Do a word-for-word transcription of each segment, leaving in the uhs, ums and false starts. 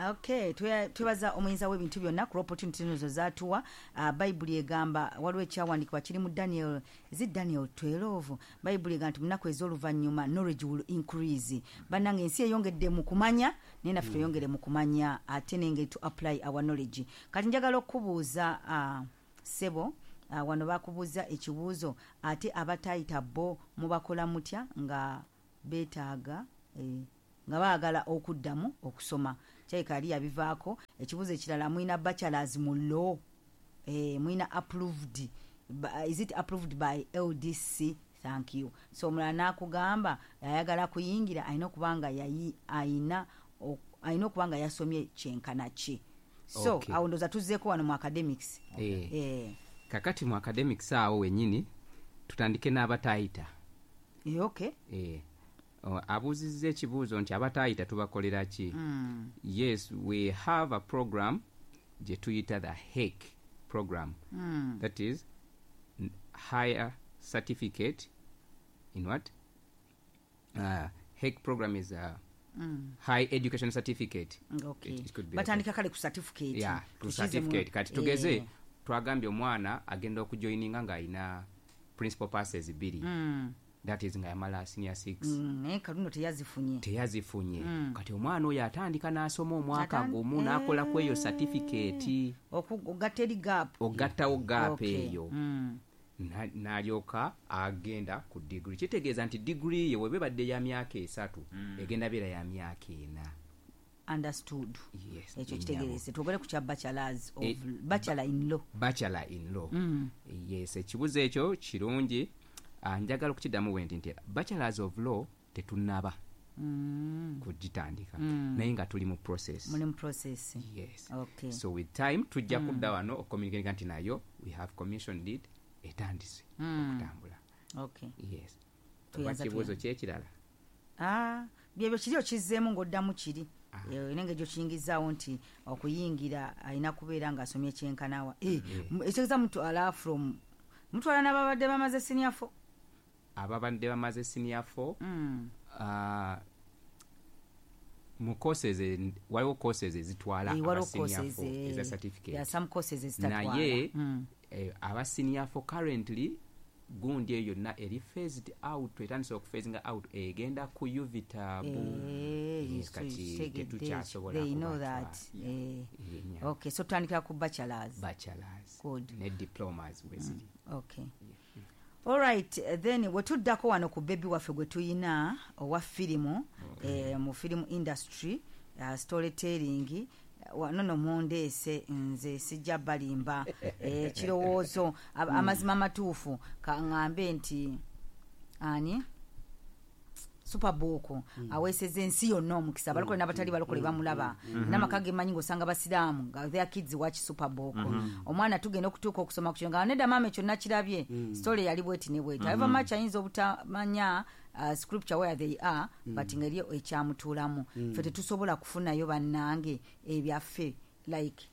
Okay, twe- twebaza Omuyinza w'ebintu byonna ku opportunity zino zatuwa. uh, bayibuli egamba, waliwo ekyawandiikibwa kiri mu Daniel, is it Daniel twelve? Bayibuli egamba nti munaku ez'oluvannyuma knowledge will increase. Bannange, ensi eyongedde mu kumanya, naye naffe tweyongere mu kumanya ate nengeri to apply our knowledge. Kati njagala okubuuza, uh, ssebo, uh, wano bakubuuza ekibuuzo, ate abatayita bo mubakola mutya nga beetaaga, eh, nga baagala okuddamu okusoma? Kyalika yali yabivaako. Ekibuuzo ekirala, mulina bachelors mu law? eh, mulina approved Ba- is it approved by L D C? Thank you. So omulala n'akugamba ayagala kuyingira alina okuba nga yayi ayina ok- alina okuba nga yasomye kyenkana ki? So Okay. awo ndowooza tuzzeeko wano mu academics. Eh. Eh, Kakati mu academics awo wennyini tutandike n'abatayita. eh, okay Eh, o, abuuzizza ekibuuzo nti abatayita tubakolera ki? Mm. Yes, we have a program gye tuyita the H E C program. Mm. That is n- higher certificate in what? uh, H E C program is a Mm. high education certificate. okay It- it could be like Batandika kale ku certificate. Yeah, ku Tukize mu- certificate. Kati tugeze Eh. twagambye omwana agenda okujoininga ng'alina principal passes bbiri. Mm. That is nga yamala senior six. Mm, naye kaluno teyazifunye. Teyazifunye. Mm. Kati omwana oyo atandika n'asoma omwaka Atan- gumu n'akola ku eyo Eh. certificate. Oku- ogatta eri gap. Ogattawo gap Okay. eyo. Mm. Na- n'alyoka agenda ku degree. Kitegeeza nti degree ye weba ebadde ya myaka esatu, egenda beera ya myaka ena. Understood. Yes, Ekyo nnyabo. kitegeerese. Twogere ku kya bachelors of Eh, bachelor in law. Bachelor in law. Mm. Yes, ekibuzo ekyo kirungi. Ah, njagala okukiddamu bwe nti nti bachelors of law tetunnaba Mm. kugitandika, Mm. naye nga tuli mu process. Muli mu process. Yes. Okay. So with time tujja kudda wano ocommunicatinga nti nayo we have commissioned it, etandise Mm. okutambula. Okay yes. Tweyanza, Oba kibuuzo tweyanza. kyekirala? Ah, byebyo kiri okizzeemu ng'oddamu kiri. Ah. Eh, nenge gyokiyingizaawo nti okuyingira alina kubeera ng'asomye kyenkanawa. Eh, m- ekitegeeza mutwala from mutwala n'ababadde bamaze senior four? Ababadde bamaze senior four, Mm. ah, mu courses en- waliwo courses ezitwala Eh, aba waliwo senior courses, four eh, eza certificate. there are some courses ezitatwala. Naye Mm. eh, aba senior four currently gundi eyo yonna eri phased out, etandise okuphasinga out, egenda ku U V T A B. Eh, Yes, so kati kitegedde. tetukyasobola They know kubatwala. that. Eh. Yeah. Okay, so tutandikira ku bachelors. Bachelors. Good. Ne diplomas weziri. Okay, alright, then wetuddako wano ku baby waffe gwe tuyina owa firimu, eh, mu film industry, uh, storytelling. Wano no mundeese nze sijja balimba. eh, kirowoozo ab- amazima amatuufu, kaŋŋambe nti ani Superbook aweeseza ensi yonna omukisa, abalokole n'abatali balokole bamulaba. N'amaka gemanyi ng'osanga basiraamu nga their kids watch Superbook. Omwana tugenda okutuuka okusoma ku kyo nga nedda maama, ekyo nakirabye, story yali bweti ne bweti. However much ayinza obutamanya uh, scripture where they are, but ngeri ekyamutuulamu ffe tetusobola kufunayo. Bannange, ebyaffe, like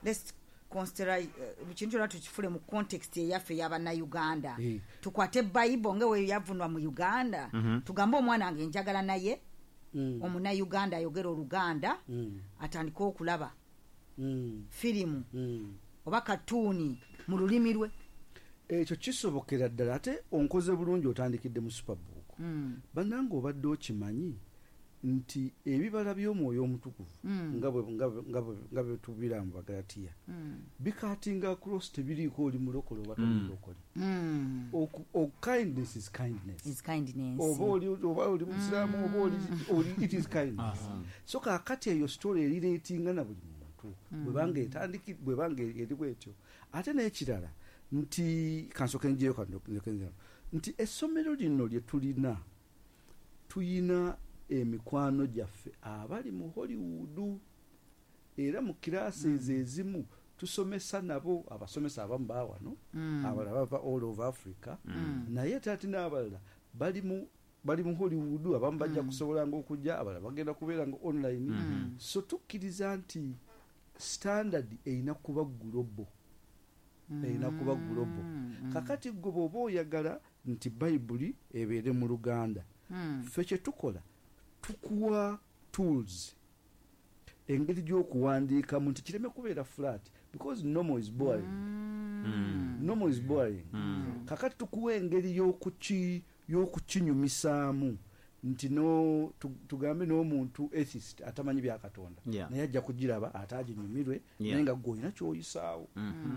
let's consider uh, kintu kyonna tukifule mu context eyaffe ey'abannayuganda. Eh. Tukwate Bible nga we yavunwa mu Uganda, tugambe omwana wange njagala naye Mm. omunnayuganda ayogera Oluganda Mm. atandike okulaba Mm. firimu Mm. oba katuuni mu lulimi lwe. Ekyo kisobokera ddala. Ate onkoze bulungi otandikidde mu Superbook. Mm. Bannange, obadde okimanyi nti ebibala by'Omwoyo Omutukuvu, Mm. nga bwe- nga bwe- nga bwe- nga bwe tubira mu Bagalatiya, Mm. bicuttinga across, tebiriiko oli mulokole oba toli mulokole. Mm. Oku- o- kindness is kindness. Is kindness. Oba oli oba oli musiraamu oba oli oli, it is kindness. So kaakati eyo story erelatinga na buli muntu bwebanga etandiki, bwebanga eri bwetyo. Ate n'ekirala nti kansooke njeyo kano, nti essomero lino lye tulina, tuyina emikwano gyaffe abali mu Hollywood, era mu kirasi ezo ezimu tusomesa nabo. Abasomesa abamu bawano, Mm. abalala bava all over Africa, Mm. naye ate ate n'abalala bali mu bali mu Hollywood. Abamu bajja kusobolanga okujja, abalala bagenda kubeera nga online. So tukkiriza nti standard erina kuba global, erina kuba global. Kakati gwe bw'oba oyagala nti Bayibuli ebeere mu Luganda, Mm. ffe kye tukola, tukuwa tools. Engeri gy'okuwandiikamu nti kireme kubeera flat, because normal is boring. Mm. Normal is boring. Mm. Kakati tukuwa engeri y'okuki- y'okukinyumisaamu nti no tu-, tugambe n'omuntu atheist atamanyi bya Katonda, Yeah. naye ajja kugiraba ate aginyumirwe, Yeah. naye nga ggwe olina ky'oyisaawo. Mm-hmm.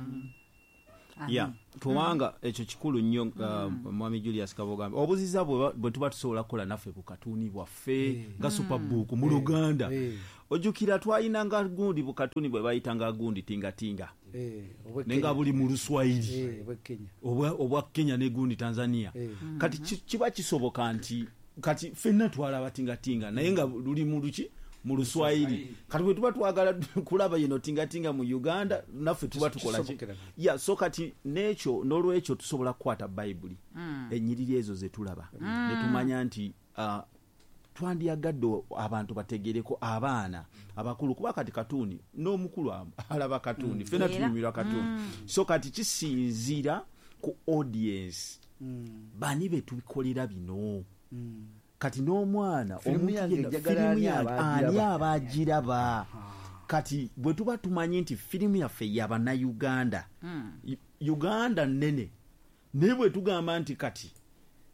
Amen. Yeah. Kubanga ekyo kikulu nnyo, uh, Mwami Julius Kabogambe, obuziza bwe bwe tuba tusobola kukola naffe ku katuuni bwaffe Eh. nga Superbook mu Luganda. Eh. Ojjukira twayinanga gundi bukatuni bwe bayitanga gundi tingatinga. Eh, obwe Naye nga Kenya. buli mu Luswayiri. Eh, obwe Kenya. Obwa, obwa Kenya ne gundi Tanzania. Eh. Kati ki-, kiba kisoboka nti kati ffenna twalaba tingatinga naye nga luli mu luki? Mu Luswayiri. Kati bwe tuba twagala kulaba yino tingatinga mu Uganda, naffe tuba tukola ki? Kisobokera. Yeah, so kati n'ekyo, n'olwekyo tusobola kukwata Bayibuli. Mm. Ennyiriri ezo ze tulaba. Mm. Ne tumanya nti, uh, twandyagadde abantu bategereko abaana abakulu, kuba kati katuuni n'omukulu am-, alaba katuuni. Mm. Ffenna Era. tunyumirwa katuuni. Mm. So kati kisinziira ku audience. Mm. Bani be tubikolera bino? Mm. Kati n'omwana, Firimu omuntu yange yenna, njagala firimu ani yange, abaagiraba? ani abaagiraba? Kati bwe tuba tumanyi nti firimu yaffe ya Bannayuganda, Mm. U-, Uganda nnene, naye bwe tugamba nti kati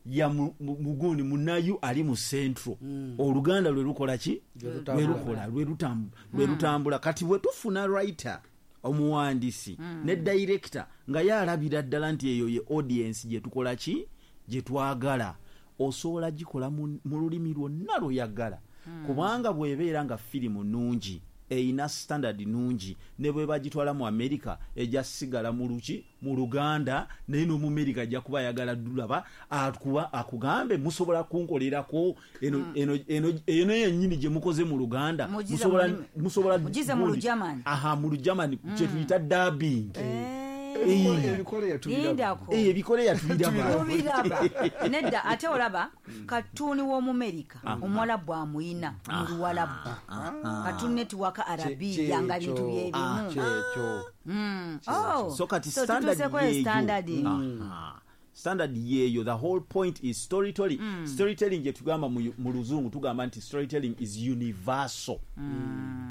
ya mu-, mu-, mugundi munnayu ali mu Central, Mm. Oluganda lwe lukola ki? Lwe lutambula. Lwe lukola, lwe lutam-, lwe Mm. lutambula. Kati bwe tufuna writer, omuwandiisi, Mm. ne director, nga ye alabira ddala nti eyo ye audience gye tukola ki? Gye twagala. Osobola gikola mu, mu lulimi lwonna lw'oyagala. Mm. Kubanga bw'ebeera nga firimu nnungi, eyina standard nnungi, ne bwe bagitwala mu America, ejja sigala mu luki, mu Luganda, naye n'omu America ajja kuba ayagala ddulaba, akuba, akugambe musobola kunkolerako eno, Mm. eno, eno, eno yennyini gye mukoze mu Luganda. Mugize Musobola, mu lulimi. musobola Mugize mu gundi. Lugerman. Aha, mu Lugerman, Mm. kye tuyita dubbing. Eh. Eh. Ebikole yatubiraba. Lindako. Eh, ebikole yatubiraba. Tubiraba. Nedda, ate olaba, katuuni w'Omumerika, Ah. Omuwalabu amuyina, mu Ah. Luwalabu. Ah. Katuuni network Arabiya, Kye-, nga bintu kyekyo. bye bimu. Ah. Kyekyo. Mm. Oh. So kati So standard tutuuse ku yeeyo. standard. Ah. Standard yeeyo. The whole point is storytelling. Mm. Storytelling gye tugamba mu, mu Luzungu, tugamba nti storytelling is universal. Mm.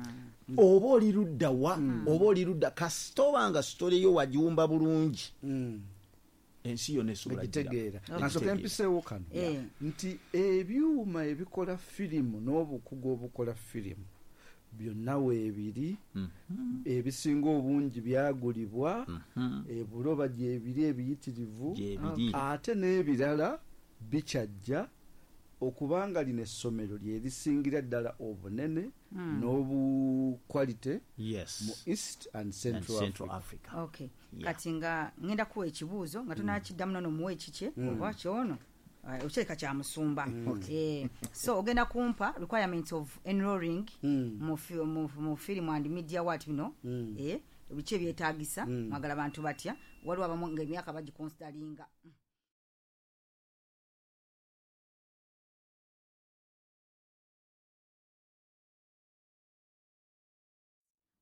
Oba oli ludda wa, Mm. oba oli ludda, kasita oba nga story yo wagiwumba bulungi. Mm. Ensi yonna esobola Egitegeera. gira. Nasooka Egitegeera. empiseewo kano. Eh. Nti ebyuma ebikola firimu n'obukugu obukola firimu byonna weebiri, Mm-hmm. ebisinga obungi byagulibwa, Mm-hmm. ebuloba gyebiri ebiyitirivu, Gyebiri. ate n'ebirala bikyajja, okubanga lino essomero lye lisingira ddala obunene Mm. n'obukwalite Yes. mu East and Central And Central Africa. Africa. Okay. Yeah. Kati nga ngenda kuwa ekibuuzo nga tonakiddamu nono muwe ekikye, Mm. oba kyono. Aye, okireka kya musumba. Mm. Eh, so ogenda kumpa requirements of enrolling Mm. mu fi-, mu, mu film and media what bino. Mm. Eh, biki ebyetaagisa, Mm. mwagala bantu batya, waliwo abamu nga emyaka bagiconsideringa.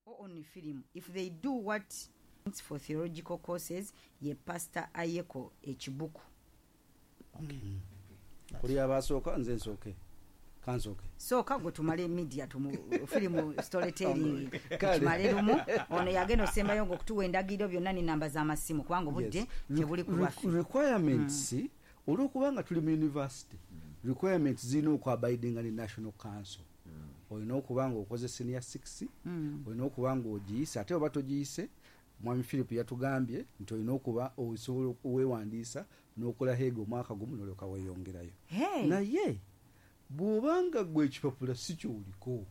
Or only film. If they do what for theological courses, ye Pastor Ayeko Ekibuku. Okay. Mm. Kuli abasooka, nze nsooke. Kansooke. Sooka gwe tumale media, tumu, film storytelling. Kale. Tumale lumu. Ono yagenda osembayo ng'okutuwa endagiriro byonna n'ennamba z'amasimu, kubanga obudde Yes. tebuli ku lwaffe. Re-, requirements, Mm. olw'okubanga tuli mu university, requirements zirina okuabidinga ne National Council. Olina okuba ng'okoze senior six, Mm. olina okuba ng'ogiyise, ate oba togiyise, Mwami Philip yatugambye nti olina okuba osobola okwewandiisa n'okola heega omwaka gumu n'olyoka weeyongerayo. Hey. Naye bw'obanga ggwe ekipapula si ky'oliko.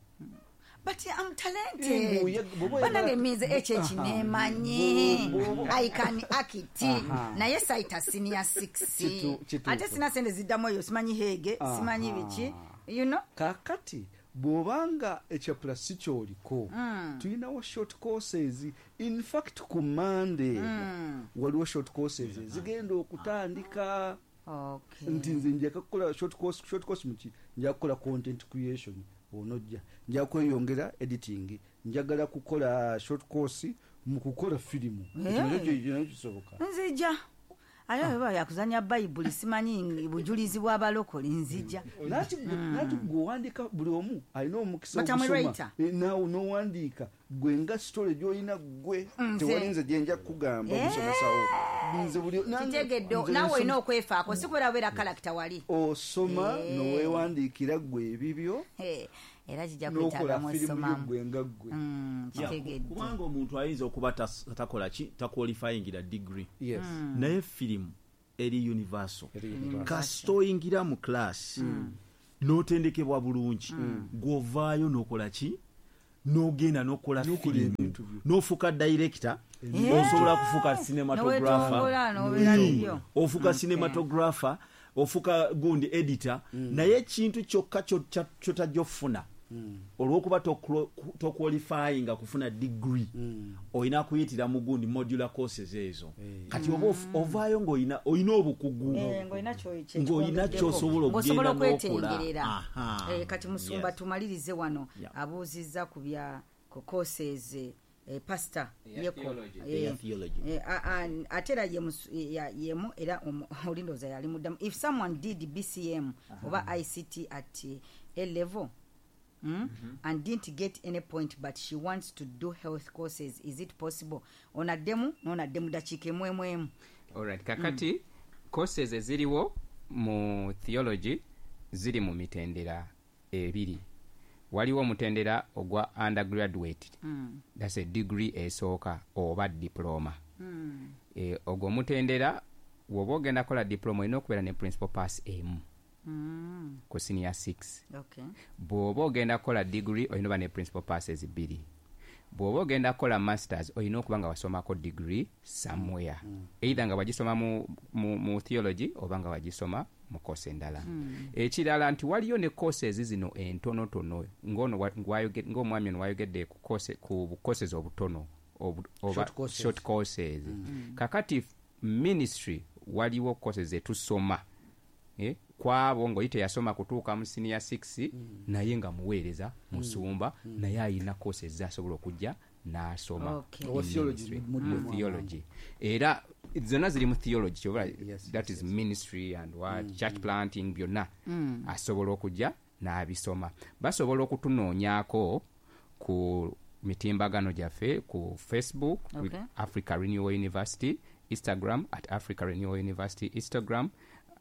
But I'm talented. Eh, bw'oye-, bw'oba oyagala- Banange minze ekyo Aha. ekineemanyi. Bw'oba- I can act. Aha. Naye saita senior six. Kitu-, kituufu. Ate sina sente ziddamu eyo, simanyi heege, Aha. simanyi biki. You know? Kaakati bw'obanga ekyapula si ky'oliko, Mm. tulinawo short courses. In fact, ku Monday Mm. waliwo short courses ezigenda okutandika. Okay. Nti nze nja kukola short course, short course muki, nja kukola content creation, onojja nja kweyongera editing, njagala kukola short course mu kukola firimu. Hey. Ekyo nakyo kisoboka. Nzija. Ate bwe yakuzanya Bayibuli, simanyi bujulizi bw'abalokole, nzija. Nati nati gwe owandiika, buli omu alina omukisa But I'm a ogusoma. writer. Eh, naawe n'owandiika gwe nga story gy'olina gwe, Nze. tewali nze gye nja kukugamba Eh. omusomesawo. Nze buli nange- Kitegedde. Nze Naawe olina nsoma- okwefaako, si kubeera bubeera kalakita wali. Osoma Eh. noweewandiikira gwe ebibyo Eh, era kijja n'okola kwetaagamu firimu yo osomamu. gwe nga gwe. Mm, Yeah, kitegedde. Kubanga omuntu ayinza okuba tas- takola ki, taqualifyingira degree, Yes. naye firimu eri universal. Eri universal. Kasita oyingira mu class n'otendekebwa bulungi, gw'ovaayo n'okola ki, n'ogenda n'okola N'okola firimu, ebintu byo. N'ofuuka director, Yeah. osobola kufuuka cinematographer. Noweetongola, n'obeera bibyo. Ofuuka cinematographer, ofuuka gundi editor, naye ekintu kyokka kyo- kya- kyotajja okufuna, olw'okuba toqualifyinga kufuna degree, olina kuyitira mu gundi modular courses ezo. Kati oba of- ovaayo ng'olina olina obukugu, Eh, ng'olina kyo- kye ng'olina kyongeddeko. ky'osobola Ng'osobola okugenda n'okola. okwetengerera. Aha. Eh, kati musumba, Yes. tumalirize wano. Yeah. Abuuzizza ku bya ku courses, eh, pastor Eya Yeko. theology. Eh, Eya theology. eh, a- a- ate era ye musu- ya- yemu era omu- oli ndowooza yali muddamu. If someone did B C M oba I C T at eh, A level, Mm? and didn't get any point, but she wants to do health courses, is it possible? Onaddemu nonaddemu dakiika emu emu emu. Alright, kakati courses eziriwo mu theology ziri mu mitendera ebiri. Waliwo omutendera ogwa undergraduate, mm. that's a degree esooka oba diploma. mm. e, ogwo omutendera, woba ogenda kola diploma, olina okubeera ne principal pass emu mm. ku senior six. okay. Bw'oba ogenda kukola degree, olina oba ne principal passes bbiri. Bw'oba ogenda kukola masters, olina okuba nga wasomako degree somewhere, mm. either nga wagisoma mu, mu, mu theology oba nga wagisoma mu course endala. mm. Ekirala nti waliyo ne courses zino entonotono, ng'ono wa- ng'wayoge- ng'omwami ono wayogedde ku course- ku courses obutono obu- oba Short courses. Short courses. mm. kakati ministry waliwo courses zetusoma, eh, kwabo ng'oli teyasoma kutuuka mu senior six, mm. naye nga muweereza musumba, mm. naye ayina courses zasobola okujja n'asoma. Okay. Owa In theology ministry. muddemu. Mu theology, era zonna ziri mu theology kyoba Yes, that yes, is ministry and what, church planting, byonna asobola okujja n'abisoma. Basobola okutunoonyaako ku mitimbagano gyaffe, ku Facebook, with Okay. Africa Renewal University, Instagram at Africa Renewal University, Instagram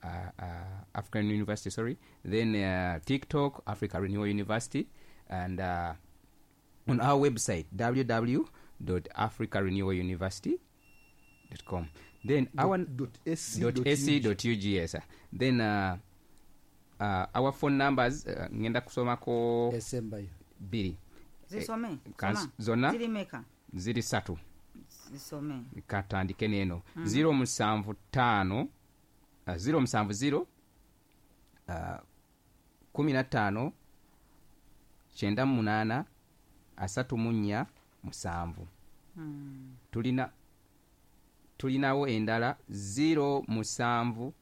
uh, uh, African University, sorry, then uh, TikTok Africa Renewal University, and uh, on our website w w w dot africa renewal university dot com. Then our dot A C dot dot A C dot U G, yes. Then uh, uh, our phone numbers, uh, ngenda kusomako esembayo. Bbiri. Zisome. Kans- Soma. Zonna? Ziri meka? Ziri ssatu. Zisome. Katandike neeno, zero musanvu ttaano, uh, zero musanvu zero, uh, kumi na ttaano, kyenda mu munaana, asatu mu nnya, musanvu. Tulina tulinawo endala zero musanvu,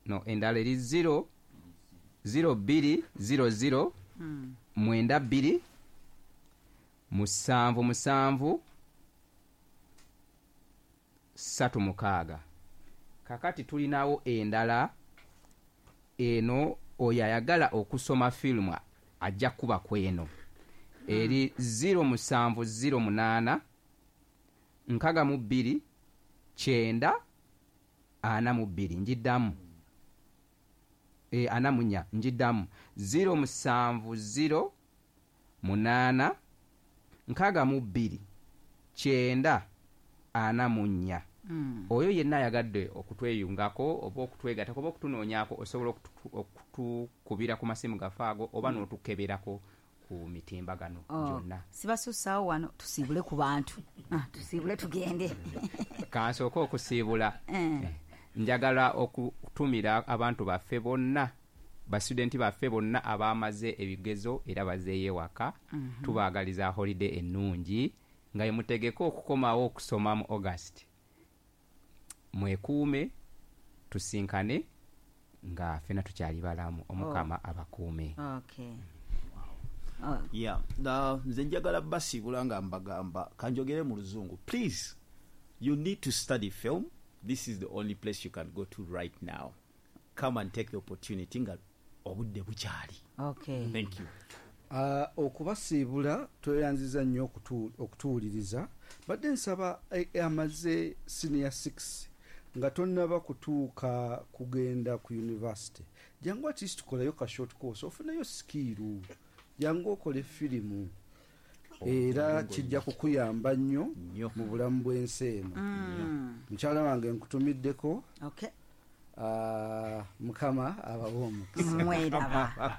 no, endala eri zero zero bbiri zero zero mwenda bbiri musanvu musanvu ssatu mukaaga. Kakati tulinawo endala eno, oyo ayagala okusoma firimu ajja kuba kweno, eri zero musanvu zero munaana nkaga mu bbiri kyenda ana mu bbiri. Njiddamu, e, ana mu nnya. Njiddamu, zero musanvu zero munaana nkaaga mu bbiri kyenda ana mu nnya. Mm. Oyo yenna ayagadde okutweyungako oba okutwegattako oba okutunoonyaako, osobola okutu- okutukubira ku masimu gaffe ago oba n'otukeberako ku mitimbagano Oh, gyonna. Sibasussaawo wano, tusiibule ku bantu. Ah, tusiibule tugende. Kansooke okusiibula. Eh. Njagala okutumira abantu baffe bonna, basitudenti baffe bonna abamaze ebigezo era bazeeyo ewaka. Mhm. Tubaagaliza holiday ennungi nga yemutegeke okukomawo okusoma mu August. Mwekuume, tusinkane nga ffena tukyali balamu. Omukama abakuume. Okay. Oh, Yeah, na nze njagala basiibula nga mbagamba, kanjogere mu Luzungu. Please, you need to study film. This is the only place you can go to right now. Come and take the opportunity nga obudde bukyali. Okay. Thank you. Ah, okubasiibula, tweyanziza nnyo okutu- okutuwuliriza. Badde nsaba eh, amaze senior six nga tonnaba kutuuka kugenda ku university, jangu at least tukolayo ka short course, ofuneyo skill, jangu okole firimu, era kijja kukuyamba nnyo Nnyo. mu bulamu bw'ensi eno. Mm. Mukyala wange, nkutumiddeko. Okay. Ah, Mukama abawe omukisa. Mweraba.